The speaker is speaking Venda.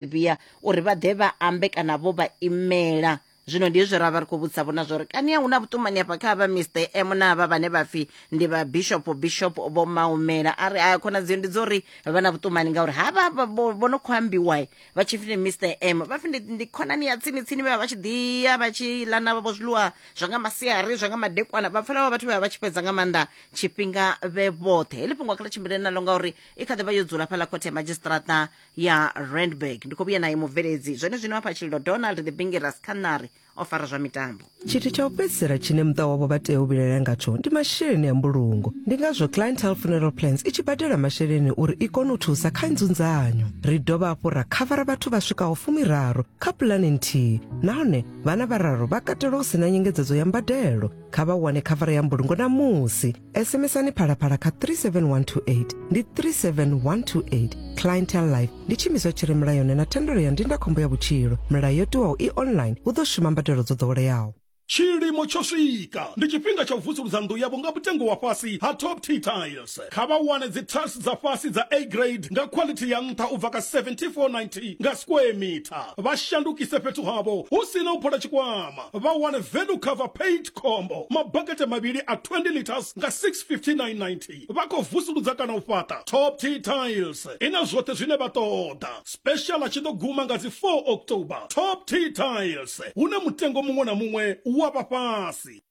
Vhuya uri vha ḓe vha ambe kana vho vha imela. Zwino ndi hezwi ra vha ri khou vhudzisa vhona zwori kani a hu na vhuṱumani afha kha vha Mister M na avha vhane vha pfi ndi vha Bishop Bishop Vho Maumela. A ri a khonadzeo ndi dzo uri vha na vhuṱumani ngauri havha vho no khou ambiwa vha tshi pfi ndi Mister M vha pfi ndi khonani ya tsini tsini vha vha tshi ḓi ya vha tshi ḽa na vho zwiḽiwa zwa nga masiari zwa nga madekwana vha pfela vha vhathu vha vha tshi fhedza nga maanḓa tshifhinga vhe vhoṱhe. Heḽi fhungo kha ḽi tshimbile naḽo ngauri i kha ḓi vha yo dzula fhaḽa khothe ya madzhisiṱiraṱa ya Randburg. Ndi khou vhuya naye mubveledzi zwone zwino hafha Tshililo Donald the Bingiras Khanari o fara zwa mitambo. Tshithu tsha u fhedzisela tshine muṱa wavho vha tea u vhilaela ngatsho ndi masheleni a mbulungo. Ndi ngazwo Clientele Funeral Plans i tshi badela masheleni uri i kone u thusa kha nzunzanyo. Ri dovha hafhu ra khavara vhathu vha swikaho fumiraru kha pulane nthihi nahone vhana vhararu vha katelwa hu si na nyengedzedzo ya mbadelo. Kha vha wane khavara ya mbulungo ṋamusi. SMSani Phalaphala kha 37128 ndi 37128. Clientele Life ndi tshiimiswa tshi re mulayoni na thendelo ya ndindakhombo ya vhutshilo. Milayo yo tiwaho i online hu ḓo shuma mbadelo dzo ḓoweleaho. Tshilimo tsho swika! Ndi tshifhinga tsha u vusuludza nnḓu yavho nga mutengo wa fhasi ha Top Tea Tiles. Kha vha wane dzi tiles dza fhasi dza A grade nga khwalithi ya nṱha u bva kha 74.90 nga square meter. Vha shandukise fhethu havho hu si na u phola tshikwama. Vha wane value cover paint combo mabakete mavhili a 20 litres nga 659.90. Vha khou vusuludza kana u fhaṱa? Top Tea Tiles i na zwoṱhe zwine vha ṱoḓa. Special tshi ḓo guma nga dzi 4 October. Top Tea Tiles, hune mutengo muṅwe na muṅwe wa vha fhasi.